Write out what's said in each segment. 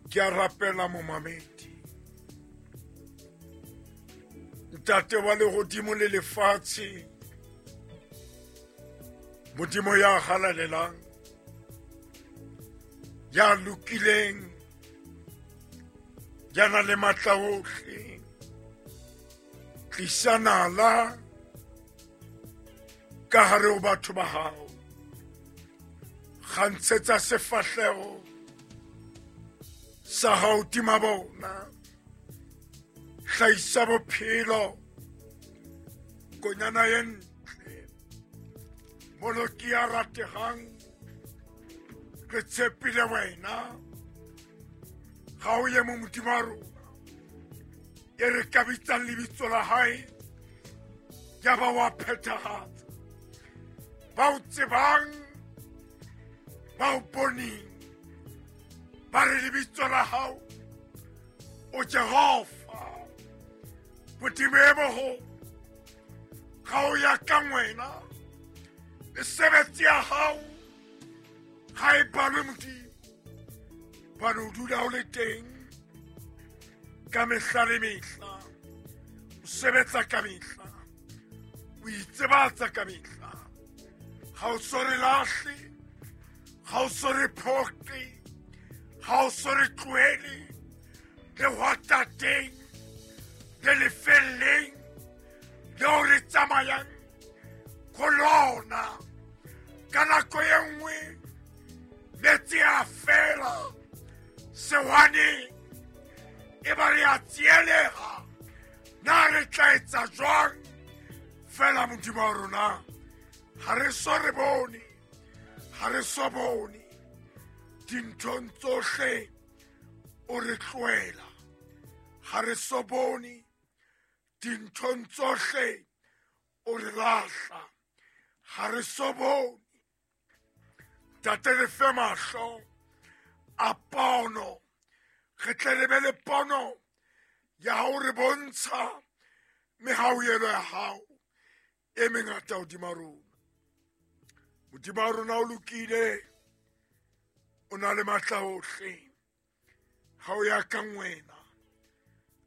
Ke a rapela momamedi. Ntate wa lehodimo le lefatshe, Modimo ya halalelang, ya lokileng, ya nang le matla ohle, tlisa nala ka hare ho batho ba hao. Kgantshetsa sefahleho sa hao tima bona. Hlahisa bophelo, konyana e ntle, moloki ya ratehang, re tshepile wena. Ga o ye mo Modimo wa rona, e re ka bitsang lebitso la hae, ya ba wa phethahatsa. Ba o tsebang, ba o boneng, ba re lebitso la hao o Jehova, Modimo e moholo. Ga o ya ka wena, mesebetsi ya hao ga e balwe Modimo, bane o dula o le teng ka mehla le mehla, o sebetsa ka mehla, o itsebatsa ka mehla. Ga o so re lahle, ga o so re phoqe, ga o so re tlohele lehwatateng le lefelleng leo re tsamayang go lona. Ka nako e nngwe metsi a fela sewaneng, e ba re a tsielega, na re tla etsa jwang? Fela Modimo wa rona, ha re so re bone, ha re so bone dinthong tsohle o re tlohela, ha re so bone dinthong tsohle o re lahla, ha re so bone. Ntate, re fe mahlo a pono, re tle re be le pono ya hao re bontsha mehauhelo ya hao e mengata hodima rona. Modimo wa rona o lokile, o na le matla ohle. Ha o ya ka wena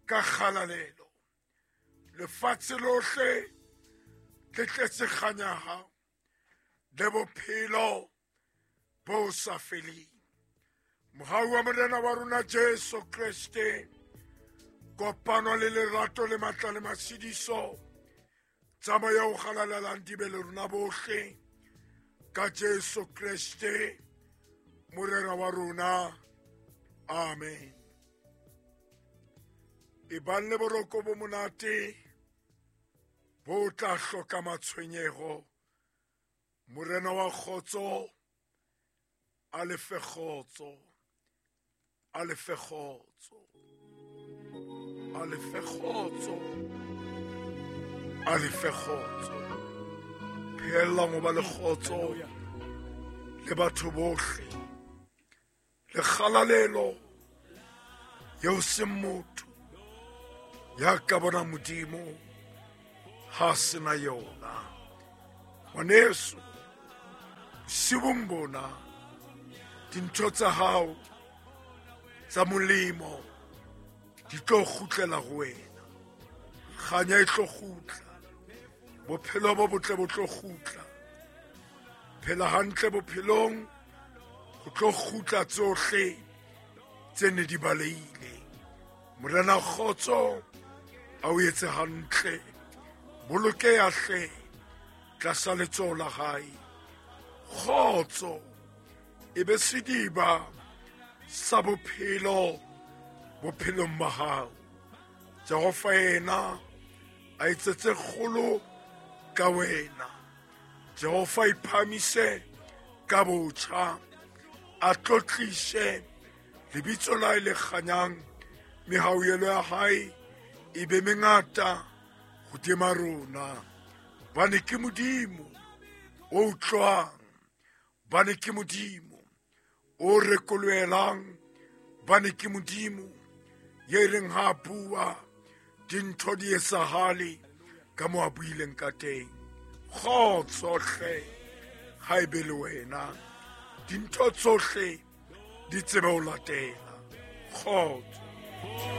ka kgalalelo, lefatshe lohle le tletse kganya ya hao le bophelo bo sa feleng. Mohau wa Morena wa rona Jesu Kreste, kopano le lerato le matla le matshediso tsa moya o halalelang di be le rona bohle ka Jesu Kreste Morena wa rona. Amen. E bang le boroko bo monate bo tla hloka matshwenyego. Morena wa kgotso a le fe kgotso, a le fe kgotso, a le fe kgotso, a le fe kgotso. Pheellang ho ba le kgotso le batho bohle, le kgalalelo eo seng motho ya ka bona Modimo ha sena yona. Ngwaneso, bosiung bona dintho tsa hao tsa molemo di tlo kgutlela ho wena. Kganya e tlo kgutla, bophelo bo botle bo tlo kgutla. Phela hantle bophelong, ho tlo kgutla tsohle tse ne di balehile. Morena kgotso a o etse hantle, bolokeha hle tlasa letsoho la hae. Kgotso e be sediba sa bophelo bophelong ba hao. Jehova yena a etsetse kgolo ka wena. Jehova iphamise ka botjha, a tlotlise lebitso la hae le kganyang. Mehauhelo ya hae e be mengata hodima rona. Bane ke Modimo o utlwang, bane ke Modimo o rekolohelang, bane ke Modimo ye reng ha a bua dintho di etsahale ka mo a buileng ka teng. Kgotso hle ha e be le wena, dintho tsohle di tsebe ho latela. Kgotso.